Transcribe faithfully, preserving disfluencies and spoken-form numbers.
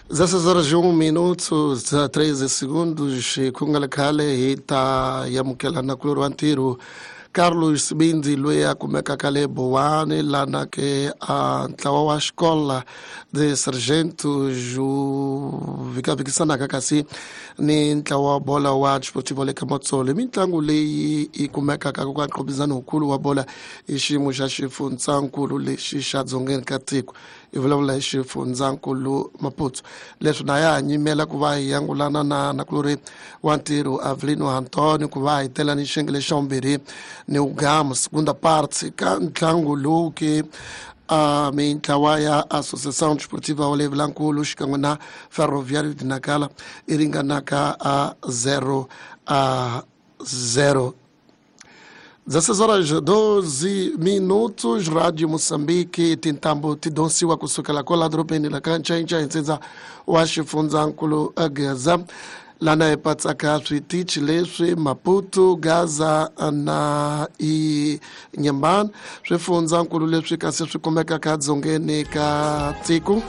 dezesseis horas e um minuto treze segundos ku nga le khale hi ta amukela nakulorhi wa ntirho Carlos Sibindi loyi a kumekaka le Bowani lana ke a ntlawa wa xikola de Sargentos wu vikavikisanaka kasi ni ntlawa wa bola wa Desportivo le ka Matsolo. Mitlangu leyi yi kumekaka ka nqhubizano wukulu wa bola i xiyimo xa xifundzankulu lexi xa dzongeni ka tiko, hi vulavula hi xifundzankulu Maputo. Leswi na ya ha nyimela ku va hi yangulana na nakulorhi wa ntirho Avelino Antonio ku va hi tela ni xiyenge xa vumbirhi ni ugamu segunda parte ka ntlangu lowu ke uh, mintlawa ya Associação Desportiva Olevilankulu xikan'we na Ferroviário de Nacala i ringanaka a zero a zero. dezesseis horas doze minutos, Rádio Moçambique, tintambo tidonsiwa kusukela kwala dorobeni la ka Ncainca hi ntsindza wa xifundzankulu Gaza, lana hi patsaka switichi leswi Maputo, Gaza na Inhambane, swifundzankulu leswi kasi swi kumekaka dzongeni ka tiko.